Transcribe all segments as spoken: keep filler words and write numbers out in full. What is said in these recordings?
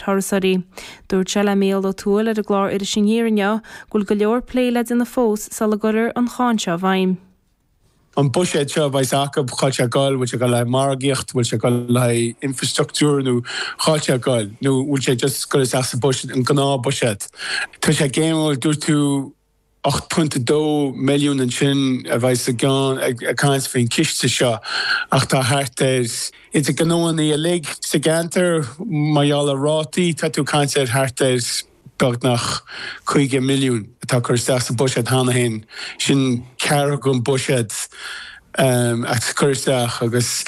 thurasóirí. Dúirt sé le Mícheál Ó Tuathail ar an gclár Iris Aniar inniu go bhfuil go leor plé le déanamh fós sula gcuirfear an cháin seo i bhfeidhm. An buiséad seo bheidh acu cá bhfuil sé ag dul, bhfuil sé ag dul le margaíocht, bhfuil sé ag dul le infrastruchtúr nó cá bhfuil sé ag dul nó bhfuil sé just ag dul isteach sa buiséad an gnáthbhuiséad. Tá sé géimhil dúirt tú ocht pointe dó milliún ansin a bheidh sa gceann ag caint faoin ciste seo ach tá thart ar idir gnóanna uilig sa gceantar mar gheall ar rátaí tá tú ag caint ar thart ar beagnach caoga milliún atá curtha isteach sa bhuiséad cheana féin. Sin ceathrú den bhuiséad a cur isteach agus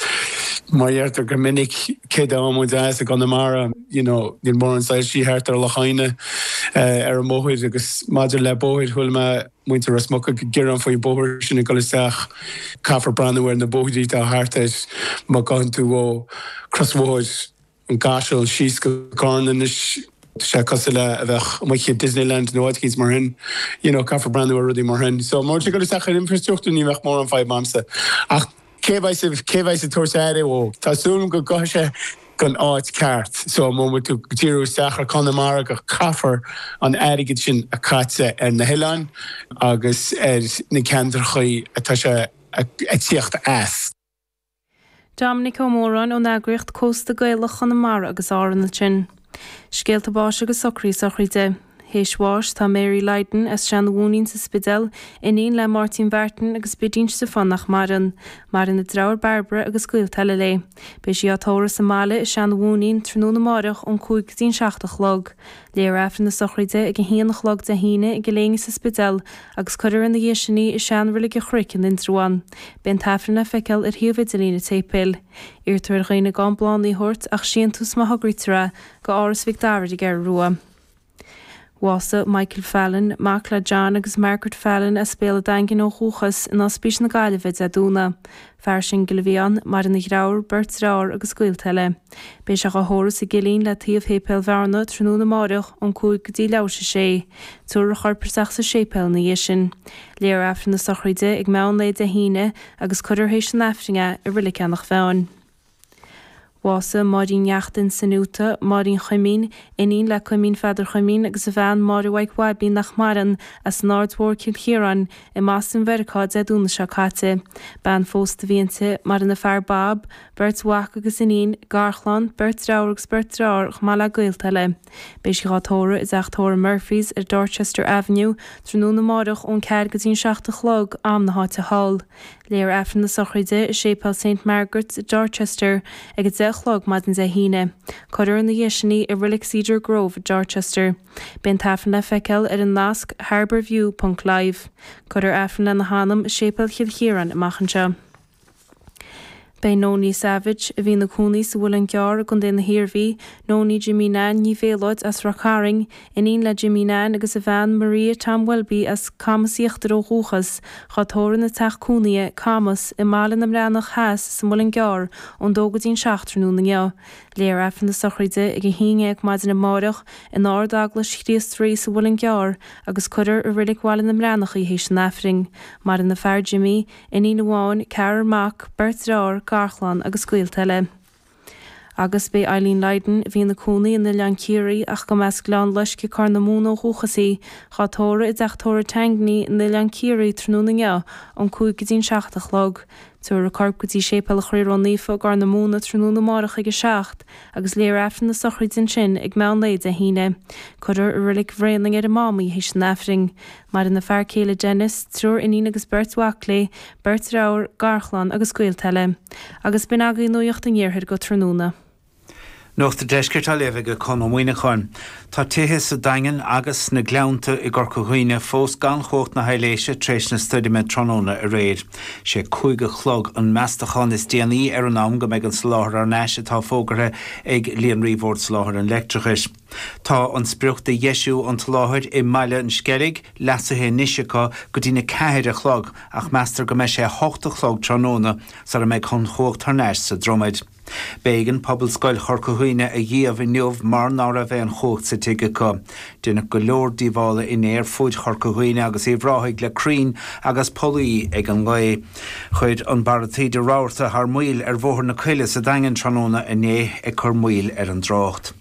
mar dheirtear go minic cé dá muid as i gConamara you know, níl mórán soilsí thart ar Loch Adhna ar an mbóthar agus maidir le bóthar chuala mé muintir Ros Muc ag gearán faoin bóthar sin ag dul isteach caithfear breathnú ar na bóithrí atá thart air má ghabhann tú ó crosbhóthar an gCaiseal síos go Carna anois tá sé cosúil le a bheith amuigh i Disneyland nó áit mar sin you know, caithfear breathnú ar rudaí mar sin. So mar go isteach ar infrastruchtúr ní bheadh mórán fadhb a'msa. Ach cé bheidh cé bheidh ag tabhairt aire dó Tá súil go gcuirfidh sé gon áit ceart so má tú díriú isteach ar Conamara go caithfear an airgead sin a chaite ar na hoileáin agus ar na ceantracha atá sé ag tíocht as. Dominic Ó Móráin ón eagraíocht Cósta Gaelach Chonamara agus Árann ansin. Scéalta báis agus socraí sochraide. Théis bháis tá Mary Lydon as Seanmhúinín sa Spidéal, iníon le Máirtín Mhartin agus Bidín Stiofán nach maireann. Maireann a deartháir Barbara agus gaolta eile léi. Beidh sí á tórramh sa mbaile i Seanmhúinín tráthnóna amárach ón cúig go dtí an seacht a chlog. Léifear Aifreann na sochraide ag a haon a chlog Dé hAoine i gCill Éinne sa Spidéal agus cuirfear ina dhiaidh sin í i seanreilig an Chnoic in Indreabhán. Beidh an t-aifreann le feiceáil ar shuíomh idirlín an tséipéil. Iarrtar ar dhaoine gan bláthanna a thabhairt ach síntiús má thograítear é go Áras Mhic Dara ar an gCeathrú Rua. Bhásaigh Michael Fallon, mac le John agus Margaret Fallon as Béal an Daingin ó dhúchas in Ospís na Gaillimhe Dé Domhnaigh. Fear singil a bhí ann, maireann a dheartháir, beirt deartháir agus gaolta eile. Beidh sé á thórramh sa gCillín le taobh Shéipéal Bhearna tráthnóna amárach ón cúig go dtí leathuair tar éis a sé. Tabharfar a chorp isteach sa séipéal ina dhiaidh sin. Léifear Aifreann na sochraide ag meán lae Dé hAoine agus cuirfear théis an Aifrinn é i Reilig Eanach Mheáin. Bhásaigh Máirín Neachtain Sinuta, Máirín Chuimín, iníon le Cuimín Pheadar Chuimín agus a bhean Máire Mhaidhc Bhaibín nach maireann as an Aird Mhór Cill Chiaráin i mBoston Mheiriceá Dé Domhnaigh seo caite. Bean phósta a bhí inti, maireann a fear Bob, beirt mhac agus iníon, garchlann, beirt deartháir agus beirt deartháir chomh maith le gaolta eile. Beidh sí á tórramh i dteach tórraimh Murphys ar Dorchester Avenue, tráthnóna amárach ón ceathair go dtí an seacht a chlog am na háite thall. Léifear Aifreann na sochraide i Séipéal St Margaret's i Dorchester ag a deich a chlog maidin Dé hAoine. Cuirfear ina dhiaidh sin í i Reilig Cedar Grove i Dorchester. Beidh an t-aifreann le feiceáil ar an nasc harborview.live. Cuirfear Aifreann lena hanam i Séipéal Chill Chiaráin amach anseo. Beidh Nonie Savage, a bhí ina cónaí sa Mhuileann gCearr i gContae na hIarmhí, Nonie Jimmy Nan Ní Bhéalóid as Ráth Cairn, iníon le Jimmy Nan agus a bhean Maria Tom Welby as Camas Íochtar ó dhúchas, á tórramh ina teach cónaithe Camas i mBaile na mBreathnach Theas sa Mhuileann gCearr ón dó go dtí an seacht tráthnóna inniu. Léifear Aifreann na sochraide ag a haon déag maidin amárach in Ard-Eaglais Chríost Rí sa Mhuileann gCearr agus cuirfear i Reilig Bhaile na mBreathnach í théis an Aifrinn. Maireann a fear Jimmy, iníon amháin, ceathrar mac, beirt deartháir, garchlann agus gaolta eile. Agus beidh Eileen Lydon a bhí ina cónaí in Oileán Ciarraí ach go mb'as Gleann Loisce Corr na Móna ó dhúchas í, á tórramh i dteach tórraimh Tangney in Oileán Ciarraí tráthnóna inniu ón cúig go dtí an seacht a chlog. Tabharfar a corp go dtí Séipéal an Chroí Ró-Naofa i gCorr na Móna tráthnóna amárach ag a seacht, agus léifear Aifreann na sochraide ansin ag meán lae Dé hAoine. Cuirfear i Reilig Bhréanainn ar an Mám í théis an Aifrinn. Maireann a fear céile Dennis, triúr iníon agus beirt mhac léi, beirt deartháir, garchlann agus gaolta eile. Agus b'in agaibh nuacht an iarthair go tráthnóna. Nuacht an Deiscirt á léamh ag Conn Ó Muíneacháin. Tá tithe sa Daingean agus na Gleannta i gCorca Dhuibhne fós gan chumhacht na haibhléise tar éis na stoirme tráthnóna aréir. Sé cúig a chlog an meastachán is déanaí ar an am go mbeidh an soláthar ar ais atá fógartha ag Líonraí Bhord Soláthair an Leictreachais. Tá an sprioc de dheisiú an tsoláthair i mBaile an Sceilg leasaithe anois acu go dtí na ceathair a chlog ach meastar go mbeidh sé hocht a chlog tráthnóna sara mbeidh an chumhacht thar n-ais sa Dromaid. B'éigean Pobalscoil Chorca Dhuibhne a dhíbh inniu mar ná raibh aon chumhacht sa tigh acu. Deineadh go leor díobhála inné ar fud Chorca Dhuibhne agus Uíbh Ráthaigh le crainn agus pollaí ag an ngaoth. Chuir an barra taoide rabharta thar maoil ar Bhóthar na Coille sa Daingean tráthnóna inné ag cur moill ar an dtrácht.